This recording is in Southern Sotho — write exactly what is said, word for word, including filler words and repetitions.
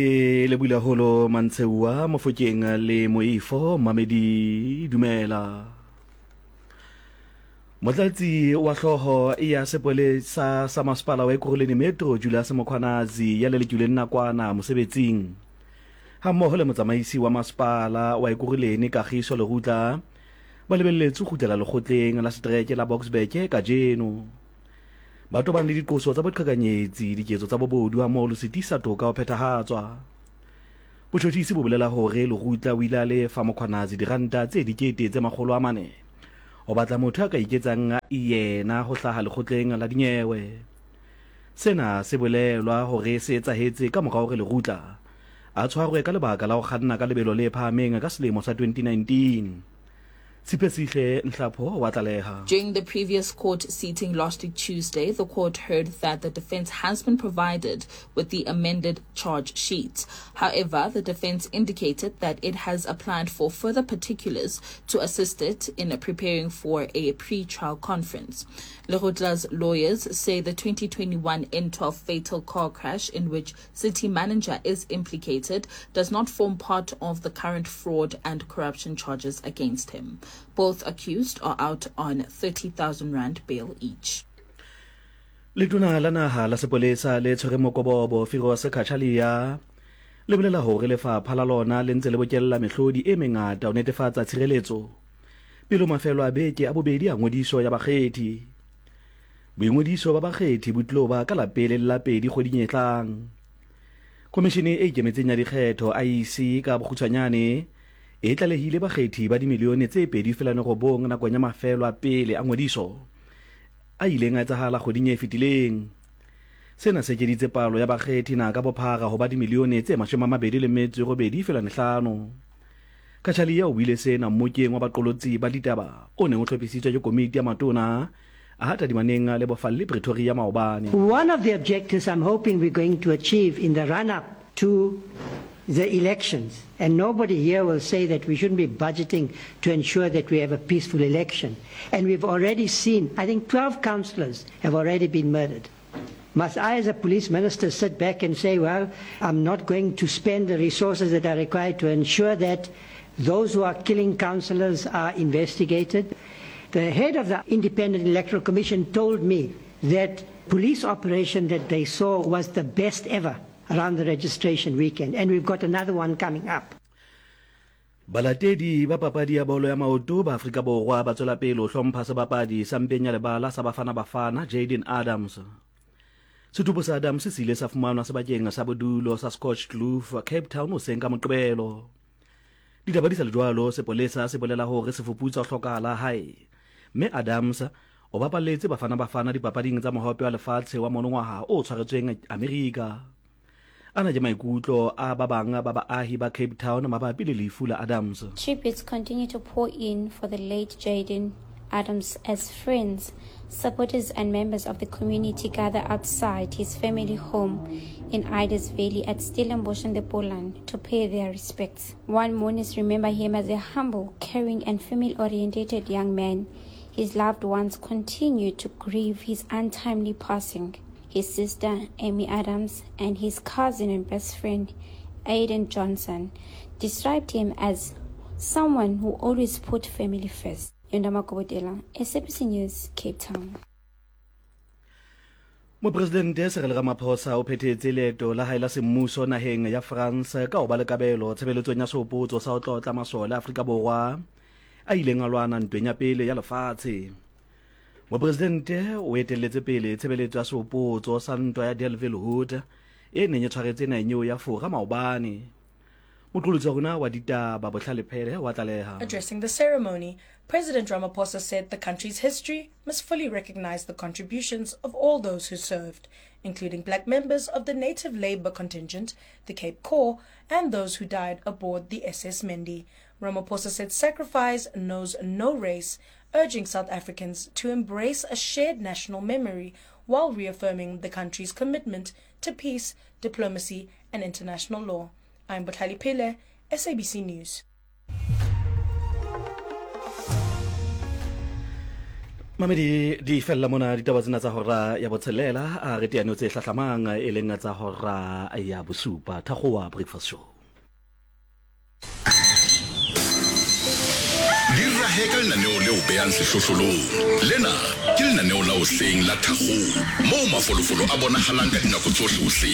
E lebula holo Mantseua Mofokeng le Moifo Mamedi dumela. Motlatsi wa hlooho ya sepolesa sa masepala wa Ekurhuleni Metro Julius Mkhwanazi ya lelekilweng nakwana mosebetsing hammoho le motsamaisi wa masepala wa Ekurhuleni Kagiso Lerutla ba lebelletswe ho kgutlela lekgotleng la setereke la Boksburg kajeno. Ba tobane le diqoso tsa boqhekanyetsi, diketso tsa bobodu hammoho le ho sitisa toka ho phethahatswa. Botjhotjhisi bo bolela hore Lerutla o ile a lefa Mkhwanazi diranta tse dikete tse makgolo a mane ho batla motho a ka iketsang yena ho hlaha lekgotleng la dinyewe. Sena se bolelwa hore se etsahetse ka mora hore Lerutla a tshwarwe ka lebaka la ho kganna ka lebelo le phahameng ka selemo sa twenty nineteen. Siphesihle Nhlapho wa tlaleha. During the previous court seating last week Tuesday, the court heard that the defense has been provided with the amended charge sheet. However, the defense indicated that it has applied for further particulars to assist it in preparing for a pre-trial conference. Lerutla's lawyers say the twenty twenty-one N twelve fatal car crash in which city manager is implicated does not form part of the current fraud and corruption charges against him. Both accused are out on thirty thousand rand bail each. Letona la naha la sepolesa le tshwereng mokobobo Firoz Cachalia le bolela hore lefapha la lona le ntse le bokella mehlodi e mengata ho netefatsa tshireletso pele mafelo a beke a bobedi a ngodiso ya bakgethi. Boingodiso ba bakgethi bo tlo ba ka la pele le la pedi kgweding e tlang. Komishene e ikemetseng ya dikgetho I E C ka bokgutshwanyane e tlalehile bakgethi ba dimilione tse pedi feela robong nakong ya mafelo a pele a ngodiso a ileng a etsahala kgweding e fetileng. Sena se ekeditse palo ya bakgethi naha ka bophara ho ba dimilione tse mashome a mabedi le metso e robedi feela mehlano. Cachalia o buile sena mmokeng wa baqolotsi ba ditaba o neng o hlophisitswe ke komiti ya matona a tadimaneng le bofalli Pretoria maobane. One of the objectives I'm hoping we're going to achieve in the run-up to the elections, and nobody here will say that we shouldn't be budgeting to ensure that we have a peaceful election. And we've already seen, I think twelve councillors have already been murdered. Must I as a police minister sit back and say, well, I'm not going to spend the resources that are required to ensure that those who are killing councillors are investigated? The head of the Independent Electoral Commission told me that police operation that they saw was the best ever around the registration weekend, and we've got another one coming up. Balatedi ba papadi ya bolo ya maoto ba Afrika Borwa ba tswela pele ho hlompha sebapadi sa mpeng ya lebala sa Bafana Bafana Jaden Adams. Setupo sa Adams se ile sa fumanwa sebakeng sa bodulo sa Scotch Kloof, Cape Town hoseng ka Moqebelo. Ditaba di sa le jwalo, sepolesa se bolela hore se fuputsa ho hlokahala hae, mme Adams o bapalletse Bafana Bafana dipapading tsa mohope wa lefatshe wa monongwaha o tshwaretsweng Amerika. Ana ke maikutlo a ba bang ba baahi ba Cape Town mabapi le lefu la Adams. Tributes continue to pour in for the late Jaden Adams as friends, supporters and members of the community gather outside his family home in Idas Valley at Stellenbosch in the Boland to pay their respects. One mourners remember him as a humble, caring and family-oriented young man. His loved ones continue to grieve his untimely passing. His sister, Amy Adams, and his cousin and best friend, Aiden Johnson, described him as someone who always put family first. Yondama Kobodela, S A B C News, Cape Town. Mopresidente Cyril Ramaphosa o phethetse leeto la hae la semmuso naheng ya France ka ho ba le kabelo tshebeletsong ya sehopotso sa ho tlotla masole a Afrika Borwa a ileng a lwana ntweng ya pele ya lefatshe. Mopresidente o etelletse pele tshebeletso ya sehopotso sa ntwa ya Delville Wood e neng e tshwaretse naheng eo ya Fora maobane. Moqolotsi wa rona wa ditaba Bohlale Phele wa tlaleha. Addressing the ceremony, President Ramaphosa said the country's history must fully recognize the contributions of all those who served, including black members of the native labor contingent, the Cape Corps, and those who died aboard the S S Mendi. Ramaphosa said sacrifice knows no race, urging South Africans to embrace a shared national memory while reaffirming the country's commitment to peace, diplomacy, and international law. I'm Botlhale Pele, S A B C News. Mamedi di fella mona ditaba tsena tsa hora ya botshelela, a re teano tse hlahlamang e leng tsa hora ya bosupa. Thakgowa Breakfast Show. Di rahe ka lenaneo leo behang sehlohlolong. Lena ke lenaneo la hoseng la Thakgowa, moo mafolofolo a bonahalang ka dinako tsohle hoseng.